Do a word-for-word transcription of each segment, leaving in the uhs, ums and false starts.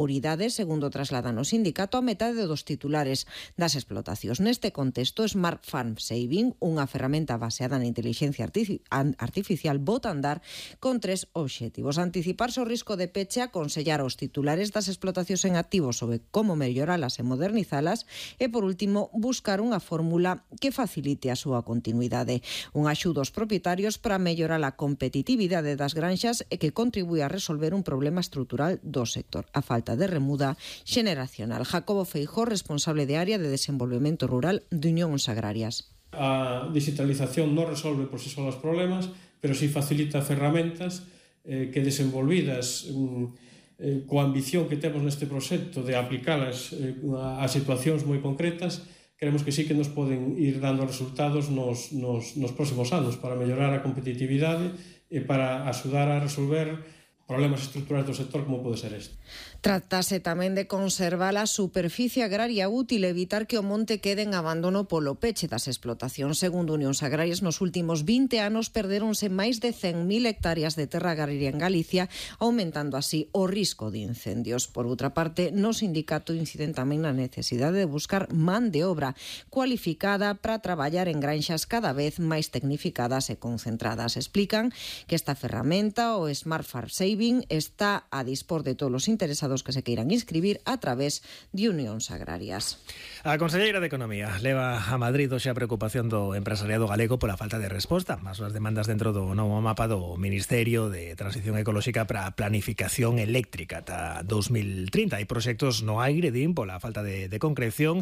prioridade, segundo trasladan o sindicato, a metade dos titulares das explotacións. Neste contexto, Smart Farm Saving, unha ferramenta baseada na inteligencia artificial, bota a andar con tres obxectivos: anticiparse o risco de peche, aconsellar aos titulares das explotacións en activo sobre como melloralas e modernizalas e, por último, buscar unha fórmula que facilite a súa continuidade. Un axudo aos propietarios para mellorar a competitividade das granxas e que contribúe a resolver un problema estrutural do sector: a falta de remuda xeneracional. Jacobo Feijó, responsable de área de desenvolvemento rural de Unións Agrarias. A digitalización non resolve por si só os problemas, pero si facilita ferramentas eh, que desenvolvidas eh, coa ambición que temos neste proxecto de aplicalas eh, a, a situacións moi concretas, creemos que sí que nos poden ir dando resultados nos, nos, nos próximos anos para mellorar a competitividade e para axudar a resolver problemas estruturais do sector como pode ser este. Trátase tamén de conservar a superficie agraria útil e evitar que o monte quede en abandono polo peche das explotacións. Segundo Unións Agrarias, nos últimos vinte anos perdéronse máis de cen mil hectáreas de terra agraria en Galicia, aumentando así o risco de incendios. Por outra parte, no sindicato inciden tamén na necesidade de buscar man de obra cualificada para traballar en granxas cada vez máis tecnificadas e concentradas. Explican que esta ferramenta, o Smart Farm Saving, está a dispor de todos os interesados que se queiran inscribir a través de Unións Agrarias. A conselleira de Economía leva a Madrid hoxe a preocupación do empresariado galego pola falta de resposta ás súas demandas dentro do novo mapa do Ministerio de Transición Ecolóxica para a Planificación Eléctrica ata dos mil trinta. Hai proxectos no aire, din, pola falta de, de concreción,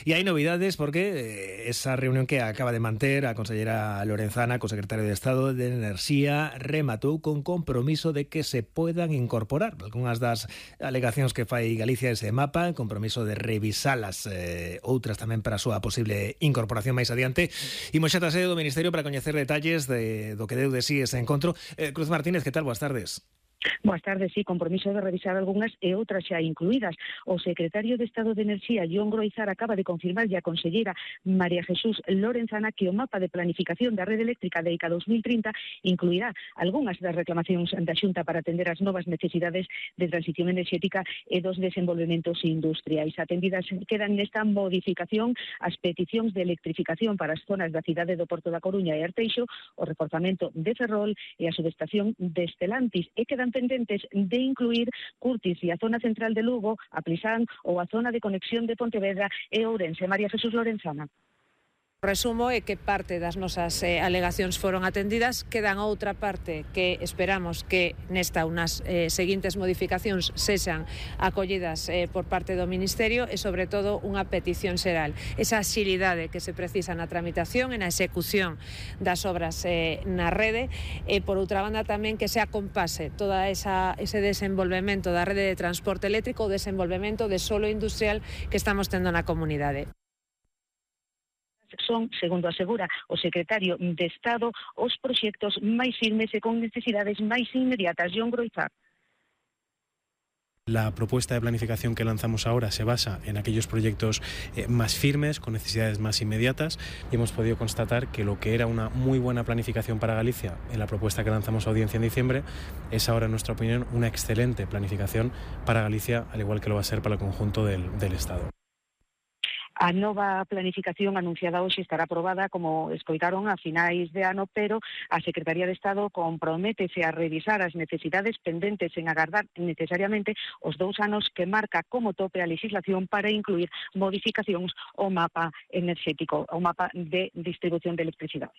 e hai novidades porque esa reunión que acaba de manter a conselleira Lorenzana co secretario de Estado de Enerxía rematou con compromiso de que se podan incorporar algunhas das alegacións que fai Galicia ese mapa, compromiso de revisalas, eh, outras tamén para a súa posible incorporación máis adiante. Imos xa trasero do Ministerio para coñecer detalles de, do que deu de sí ese encontro. Eh, Cruz Martínez, que tal? Boas tardes. Boas tardes, sí, compromiso de revisar algunhas e outras xa incluídas. O secretario de Estado de Enerxía, Jon Groizar, acaba de confirmar a conselleira María Jesús Lorenzana que o mapa de planificación da rede eléctrica de I C A dos mil trinta incluirá algunhas das reclamacións da Xunta para atender as novas necesidades de transición enerxética e dos desenvolvementos industriais. Atendidas quedan nesta modificación as peticións de electrificación para as zonas da cidade do Porto da Coruña e Arteixo, o reforzamento de Ferrol e a subestación de Estelantis, e quedan pendentes de incluir Curtis e a zona central de Lugo, a Plisán ou a zona de conexión de Pontevedra e Ourense. María Jesús Lorenzana. Resumo é que parte das nosas eh, alegacións foron atendidas, quedan outra parte que esperamos que nesta unas eh, seguintes modificacións sexan acollidas eh, por parte do Ministerio e, sobre todo, unha petición xeral. Esa axilidade que se precisa na tramitación e na execución das obras eh, na rede e, por outra banda, tamén que se acompase toda esa, ese desenvolvemento da rede de transporte eléctrico, o desenvolvemento de solo industrial que estamos tendo na comunidade. Son, segundo asegura o secretario de Estado, os proxectos máis firmes e con necesidades máis inmediatas. Jon Groizar. La propuesta de planificación que lanzamos ahora se basa en aquellos proyectos eh, más firmes, con necesidades más inmediatas, y hemos podido constatar que lo que era una muy buena planificación para Galicia en la propuesta que lanzamos a audiencia en diciembre es ahora, en nuestra opinión, una excelente planificación para Galicia, al igual que lo va a ser para el conjunto del, del Estado. A nova planificación anunciada hoxe estará aprobada, como escoitaron, a finais de ano, pero a Secretaría de Estado comprométese a revisar as necesidades pendentes en agardar necesariamente os dous anos que marca como tope a legislación para incluir modificacións ao mapa enerxético, ao mapa de distribución de electricidade.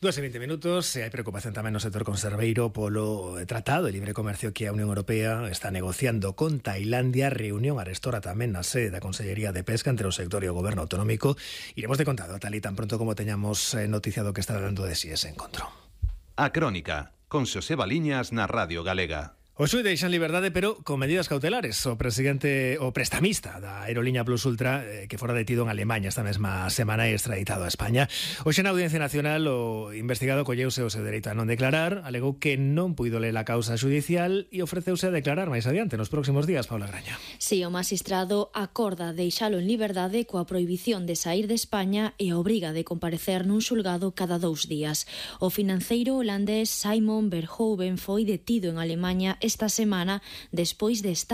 Dúas e vinte minutos, e hai preocupación tamén no sector conserveiro polo tratado de libre comercio que a Unión Europea está negociando con Tailandia. Reunión arestora tamén na sede da Consellería de Pesca entre o sector e o Goberno autonómico. Iremos de contado, tal e tan pronto como teñamos noticiado que está dando de sí ese encontro. A Crónica, con Xosé Baliñas na Radio Galega. O xuíz deixa en liberdade, pero con medidas cautelares. O presidente, o prestamista da aerolínea Plus Ultra, eh, que fora detido en Alemanha esta mesma semana e extraditado a España. Hoxe na Audiencia Nacional o investigado colleuse o seu dereito a non declarar, alegou que non puido ler a causa xudicial e ofreceuse a declarar máis adiante nos próximos días. Paula Graña. Si, o magistrado acorda deixalo en liberdade coa prohibición de sair de España e a obriga de comparecer nun xulgado cada dous días. O financeiro holandés Simon Verhoeven foi detido en Alemanha esta semana despois de estar